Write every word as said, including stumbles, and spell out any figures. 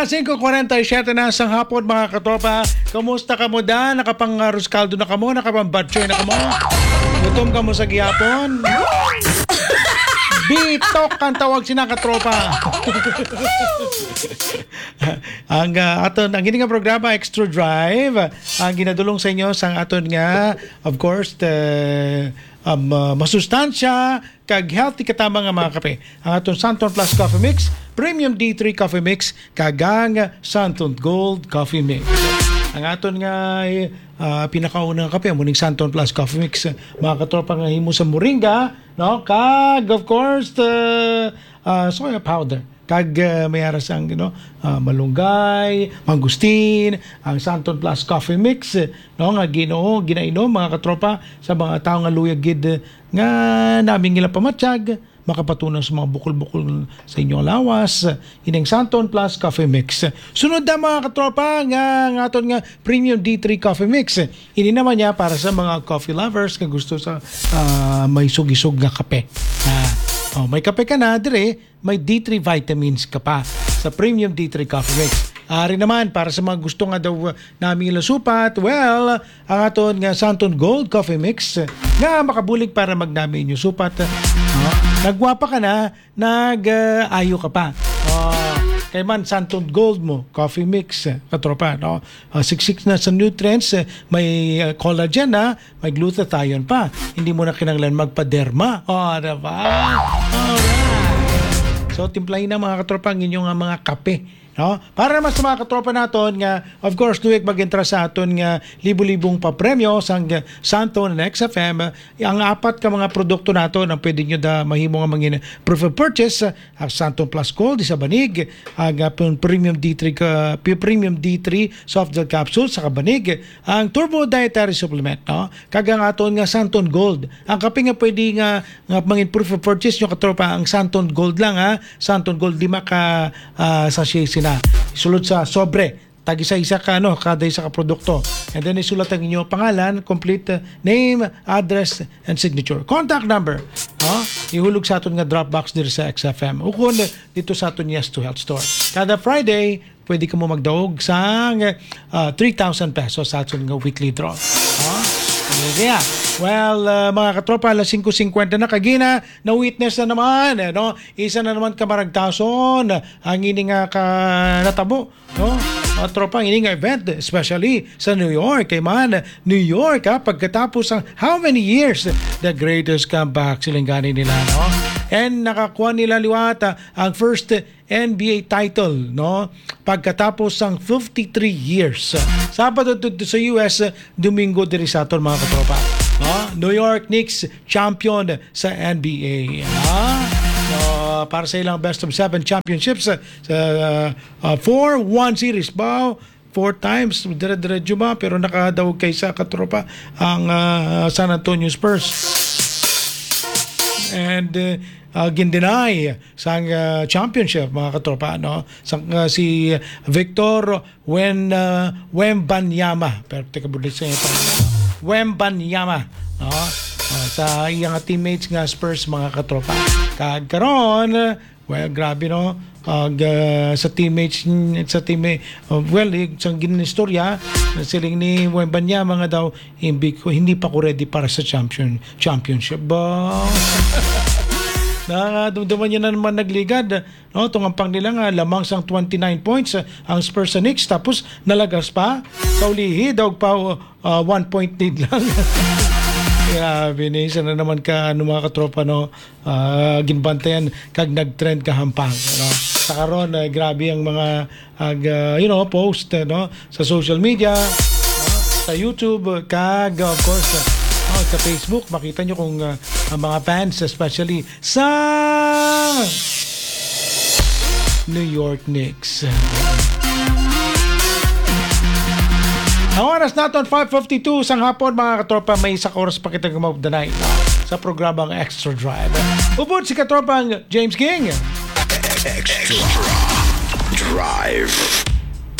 Singko kwarenta y siyete na sang hapon, mga katropa. Kumusta kamo da? Nakapang-arroz caldo na kamo? Nakapang-batchoy na kamo? Gutom kamo sa gihapon? Bitok ang tawag sina, katropa. Ang, ah, aton, ang ini nga programa, Extra Drive, ang ginadulong sa inyo sang aton nga, of course, the, um, ah, masustansya kag healthy katama nga mga kape. Ang aton Santon Plus Coffee Mix, Premium D three Coffee Mix, kag ang Santon Gold Coffee Mix. Ang aton nga, eh, ah, pinakauna nga kape, amo ning Santon Plus Coffee Mix, mga katropa, nga himo sa moringa, no? Kag, of course, the, ah, soya powder. Kag, ah, may ara sang, you know, ah, malunggay, mangustin, ang Santon Plus Coffee Mix, no, nga Ginoo, ginainom, mga katropa, sa mga tawo nga luyag gid, eh, nga nami nila pamatyag, makapatunaw sa mga bukol-bukol sa inyong lawas, ining Santon Plus Coffee Mix. Sunod na, mga katropa, nga, nga aton nga Premium D three Coffee Mix. Ini naman niya para sa mga coffee lovers nga gusto sa, ah, may sugisog nga kape. Ah, oh, may kape ka na, dire, may D three vitamins ka pa sa Premium D three Coffee Mix. Ari naman, para sa mga gusto nga daw, uh, nami nila supat, well, ang aton nga Santon Gold Coffee Mix, uh, nga makabulig para magnami inyo supat. Uh, nagwapa ka na, nag, uh, ayo ka pa. Uh, kay man, Santon Gold mo, Coffee Mix, uh, katropa, no? Uh, siksik na sa nutrients, uh, may, uh, collagen na, may glutathione pa. Hindi mo na kinahanglan magpaderma. Oh, diba? Alright. So, timplahin na, mga katropa, ang inyong, ah, mga kape. No? Para naman sa mga katropa naton nga, of course, tuwing mag-entra sa aton nga libo-libong papremyo sang Santon and X F M, ang apat ka mga produkto naton ang pwede nyo da mahimo nga mangin proof of purchase, ah, ang Santon Plus Gold, isa banig, ang, ah, pun-, Premium D three ka, pi-, Premium D three soft gel capsule sa kabanig, ang Turbo Dietary Supplement, no? Kag ang aton nga Santon Gold, ang kape nga pwede nga, nga mangin proof of purchase nyo, katropa, ang Santon Gold lang, ha? Santon Gold, lima ka, ah, sachet sina. Sulod sa sobre, tag-isa-isa ka, ano, kada isa ka produkto. And then isulat ang inyo pangalan, complete, uh, name, address, and signature. Contact number, ha? Ihulog sa aton nga drop box diri sa X F M. Ukon dito sa aton Yes to Health Store. Kada Friday, pwede kamo magdaog sang, ah, three thousand pesos sa aton nga weekly draw. Ha? Kaya, well, ah, mga katropa, alas singko singkwenta na kagina, na-witness na naman, eh, no? Isa na naman ka maragtason ang ini nga ka natabo, no? Mga tropa, ini nga event, especially sa New York. Kay man, New York, ha, pagkatapos ang how many years, the greatest comeback, siling gani nila, no? And nakakuha nila liwat, ah, ang first N B A title, no? Pagkatapos sang fifty-three years. Sabado dito sa U S, Domingo diri sa aton, mga katropa. No? New York Knicks champion sa N B A. Ha? No, para sa ilang best of seven championships, uh, sa, uh, uh, four one series. Ba, four times, dire-diretso ba? Pero nakadaog kay sa katropa ang, uh, San Antonio Spurs. And, uh, uh, gin-deny sang, uh, championship, mga katropa, no? Sang, uh, si Victor Wen-, uh, Wembanyama. Pero teka, bulit sa ito. Wembanyama, no? Uh, sa iyang teammates nga Spurs, mga katropa. Kag karon, well, grabe, no? Ag, uh, sa teammates, sa teammate, uh, well, eh, sa ginistorya, siling ni Wembanyama nga daw, "Hindi ko, hindi pa ko ready para sa champion, championship." Ba? Nakadumduman niya na naman nagligad. No, tungampang nila nga lamang sang twenty-nine points, ah, ang Spurs sa Knicks, tapos nalagas pa. Sa ulihi, daog pa, ah, one point lead lang. Grabe ni, isa na naman ka, ano, mga katropa, no? Ah, ginbantayan kag nag-trend ka hampang, no? Sa karon, ah, grabe ang mga, ag, ah, you know, post, eh, no? Sa social media, no? Sa YouTube, kag, of course, ah, oh, sa Facebook, makita nyo kung, ah, ang mga fans, especially sa New York Knicks. Ang oras naton, five fifty-two sang hapon, mga katropa, may isa ka oras pa kita gumawag danay sa programang Extra Drive. Ubod si katropang James King. Extra Drive.